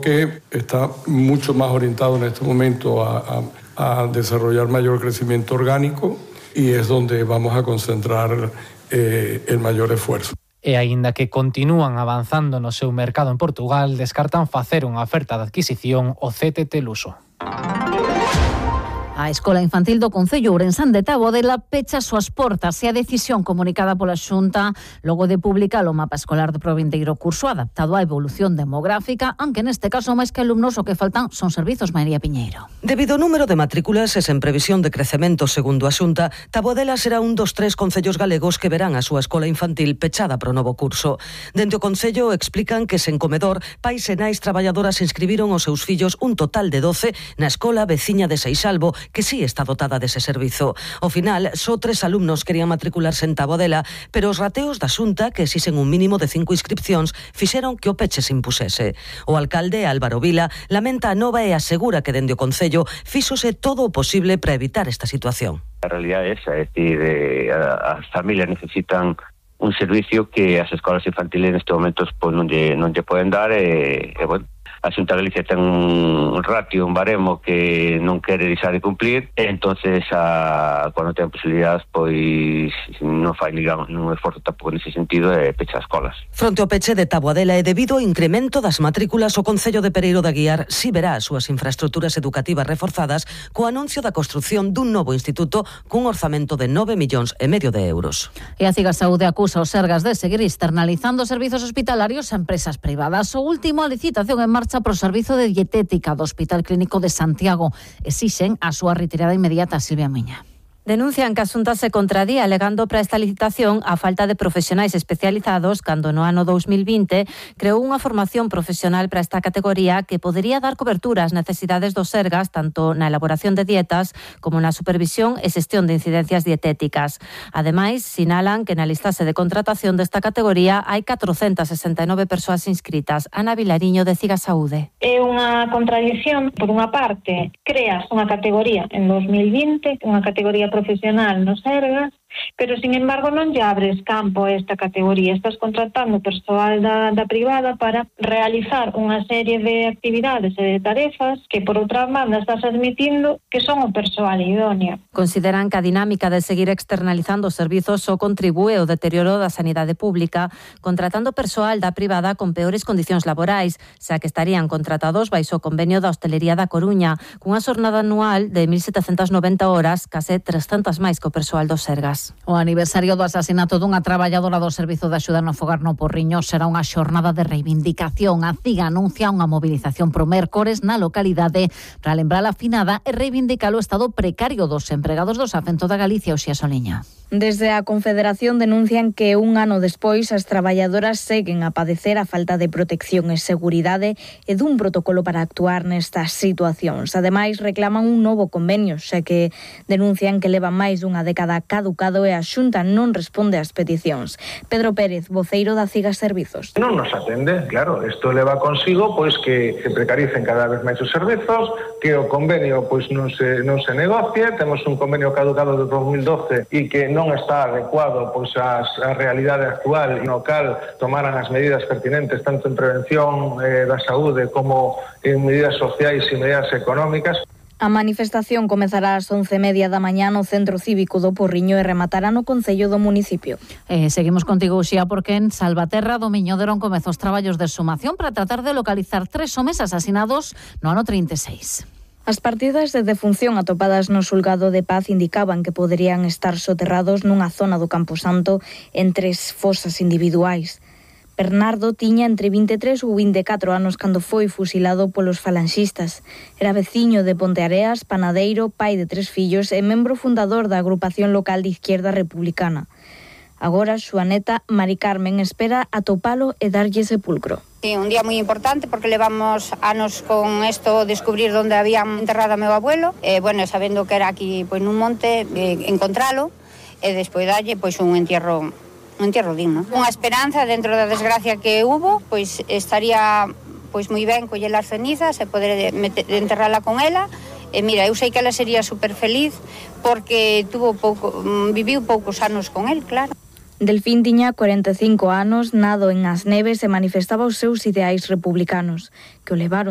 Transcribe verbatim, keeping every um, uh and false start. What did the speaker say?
que está mucho más orientado en este momento a, a, a desarrollar mayor crecimiento orgánico y es donde vamos a concentrar eh, el mayor esfuerzo. E aínda que continúan avanzando no seu mercado en Portugal, descartan facer unha oferta de adquisición ao C T T Luso. A Escola Infantil do Concello Ourensán de Tabodela pecha as súas portas e a decisión comunicada pola Xunta logo de publicar o mapa escolar do provindeiro curso adaptado á evolución demográfica, aunque neste caso máis que alumnos o que faltan son servizos. María Piñeiro. Debido ao número de matrículas e sen previsión de crecemento segundo a Xunta, Tabodela será un dos tres concellos galegos que verán a súa escola infantil pechada para o novo curso. Dende o Concello explican que sen comedor, pais e nais traballadoras inscribiron os seus fillos un total de doce na escola veciña de Seixalbo, que sí está dotada dese servizo. Ao final, só tres alumnos querían matricularse en Tabodela, pero os rateos da Xunta, que exixen un mínimo de cinco inscripcións, fixeron que o peche se impusese. O alcalde, Álvaro Vila, lamenta a nova e asegura que dende o Concello fíxose todo o posible para evitar esta situación. A realidade é esa, é dicir, eh, as familias necesitan un servicio que as escolas infantiles neste momento pues, non, lle, non lle poden dar e, e bueno, a Xunta de Galicia ten un ratio, un baremo que non quere deixar de cumplir e entonces a, cando ten posibilidades pois non fai digamos, un esforzo tampouco nese sentido e pecha as escolas. Fronte ao peche de Taboadela e debido ao incremento das matrículas, o Concello de Pereiro de Aguiar si verá as súas infraestructuras educativas reforzadas co anuncio da construción dun novo instituto cun orzamento de nove millóns e medio de euros. E a Cigasaúde acusa os Sergas de seguir externalizando servizos hospitalarios a empresas privadas. O último, a licitación en marcha pro servizo de dietética do Hospital Clínico de Santiago. Exixen a súa retirada inmediata. Silvia Miña. Denuncian que a Xunta se contradía alegando para esta licitación a falta de profesionais especializados cando no ano dous mil vinte creou unha formación profesional para esta categoría que podería dar cobertura ás necesidades dos Sergas tanto na elaboración de dietas como na supervisión e xestión de incidencias dietéticas. Ademais, sinalan que na listase de contratación desta categoría hai catrocentas sesenta e nove persoas inscritas. Ana Vilariño, de Cigasaúde. É unha contradición, por unha parte, creas unha categoría en dous mil vinte, unha categoría profesional nos Sergas, pero, sin embargo, non lle abres campo a esta categoría. Estás contratando persoal da, da privada para realizar unha serie de actividades e de tarefas que, por outra banda, estás admitindo que son o persoal idóneo. Consideran que a dinámica de seguir externalizando os servizos só contribúe ao deterioro da sanidade pública, contratando persoal da privada con peores condicións laborais, xa que estarían contratados baixo o convenio da Hostelería da Coruña, cunha xornada anual de mil setecentas noventa horas, case trescentas máis que o persoal dos Sergas. O aniversario do asasinato dunha traballadora do Servizo de Axuda no Fogar no Porriño será unha xornada de reivindicación. A CIGA anuncia unha movilización pro mércores na localidade para lembrar a finada e reivindicar o estado precario dos empregados do Safento da Galicia. Oxía Soliña. Desde a Confederación denuncian que un ano despois as traballadoras seguen a padecer a falta de protección e seguridade e dun protocolo para actuar nestas situacións. Ademais, reclaman un novo convenio, xa que denuncian que levan máis dunha década caducado e a Xunta non responde ás peticións. Pedro Pérez, voceiro da CIGA Servizos. Non nos atende, claro, isto leva consigo pois que se precaricen cada vez máis os servizos, que o convenio pois non se non se negocie, temos un convenio caducado de dous mil doce e que non está adecuado pois ás a realidade actual, no cal tomaran as medidas pertinentes tanto en prevención eh, da saúde como en medidas sociais e medidas económicas. A manifestación comezará ás once e media da mañá no Centro Cívico do Porriño e rematará no Concello do municipio. Eh, seguimos contigo, Uxía, porque en Salvaterra do Miñoderon comezou os traballos de exhumación para tratar de localizar tres homes asasinados no ano trinta e seis. As partidas de defunción atopadas no xulgado de Paz indicaban que poderían estar soterrados nunha zona do Camposanto en tres fosas individuais. Bernardo tiña entre vinte e tres ou vinte e catro anos cando foi fusilado polos falanxistas. Era veciño de Ponteareas, panadeiro, pai de tres fillos e membro fundador da agrupación local de Izquierda Republicana. Agora, súa neta, Mari Carmen, espera atopalo e darlle sepulcro. Sí, un día moi importante porque levamos anos con esto, descubrir onde habían enterrado a meu abuelo, e, bueno, sabendo que era aquí pois, nun monte, eh, encontralo, e despois dalle pois, un entierro un entierro digno. Unha esperanza dentro da desgracia que hubo, pois estaría pois moi ben coller as cenizas e poder meter, enterrala con ela. E mira, eu sei que ela sería super feliz porque tuvo pouco, viviu poucos anos con el, claro. Delfín tiña cuarenta e cinco anos, nado en As Neves e manifestaba os seus ideais republicanos, que o levaron